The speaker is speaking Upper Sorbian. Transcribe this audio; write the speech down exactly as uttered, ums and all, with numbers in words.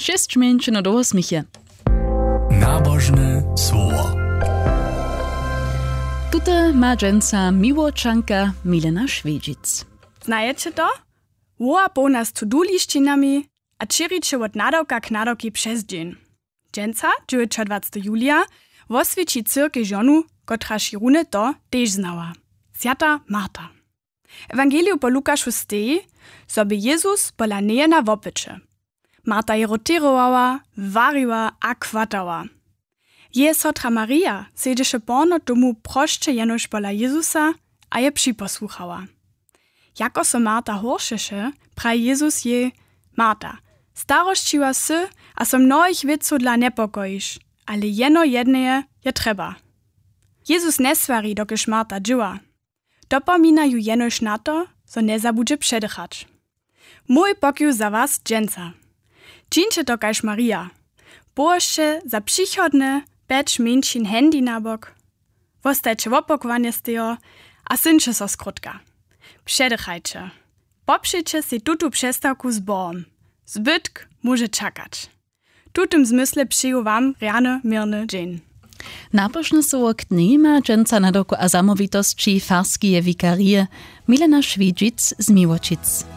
Šesć mjeńšinow do wosměch je. Nabožne słowo. Tute ma dźensa miłočanka Milena Šwjedźic. Znajeće to? Woła połna z to-do lisćinami a čěriće wot nadawka k nadawkej přez dźeń. Dźensa, dźewjećadwacteho julija, woswjeći cyrkej žonu, kotraž je runje to tež znała. Swjata Marta. W ewangeliju po Lukašu steji, zo bě Jezus pola njeje na wopyće. Marta je roterowała, wariła a chwatała. Jeje sotra Marija sedźeše porno tomu prosće jenož pola Jezusa a je připosłuchała. Jako so Marta horšeše, praji Jezus jej: Marta, starosćiła sy a so mnohich wěcow dla njepokojiš, ale jeno jedneje je trjeba. Jezus njeswari, dokelž Marta dźěła. Dopomina ju jenož na to, zo njezabudźe předychać. Mój pokiw za was dźensa. Čińće to kaž Marija. Połožće za přichodne pjeć mjeńšin handy na bok. Wostajće wopakowanje stejo a syńće so skrótka. Předychajće. Popřeće sej tutu přestawku z Bohom. Zbytk móže čakać. W tutym zmysle přeju wam rjany měrny dźeń. Napošne słowo k dnjej ma dźensa nadawku a zamołwitosći farskeje wikarije Milena Šwidźic z Miłočic.